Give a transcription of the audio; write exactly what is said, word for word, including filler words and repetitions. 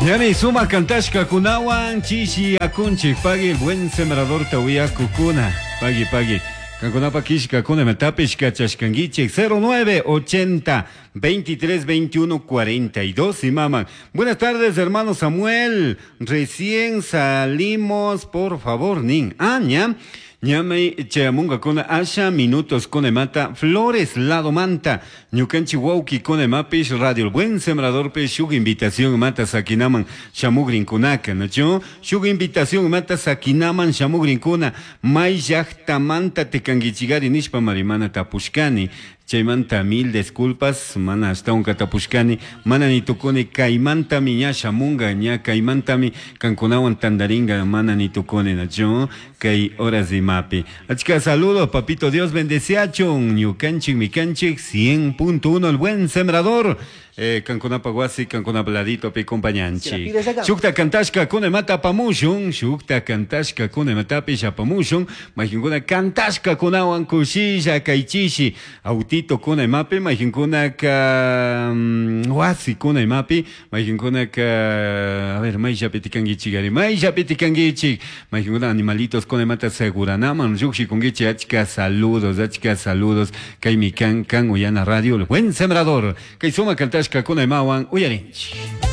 Ñami suma kantashka kunawan chishi akunchik pagui El Buen Sembrador tawiyakukuna. Pagui, pagui. Kankunapa kishkakuna imatapish kachashkankichik cero nueve ochenta veintitrés veintiuno cuarenta y dos imaman. Buenas tardes, hermano Samuel. Recién salimos, por favor, nin. Ah, ña. Ñami chayamunkakuna asha minutos kunemata Flores lado manta ñukanchik wawki kunemapish Radio El Buen Sembrador pe shuk invitación mata sakinaman shamugrinkunaka, ¿no? Shuk invitación mata sakinaman shamugrinkuna. May llaktamanta tikankichigari nishpa marimana tapushkani. Chaymanta mil disculpas, mana ashtawanka tapushkani, mana ni tukuni kaymantami ña shamunga, ña kaymantami kankunawan tandaringa, mana ni tukuni, nachu? Kay horas imapi. Achka saludos, papito Dios bendeciachun, ñukanchik mikanchik cien punto uno El Buen Sembrador. Eh, kankunapa wasi, kankunapa ladito pi compañanchik. Shukta kantashka kunemata apamushun, shukta kantashka kunematapish apamushun, mayqinkuna kantashka kunawan kushilla kaychishi, autito kunemapi, mayqinkunaka mm, wasi kunemapi, mayqinkunaka, a ver, mayllapi tikankichik ari, mayllapi tikankichik, mayqinkuna animalitos kunemata seguranaman llukshikunkichik, achka saludos, achka saludos, kaymi kan kan uyana radio El Buen Sembrador, kay suma kantashka kunemawan uyarinchik.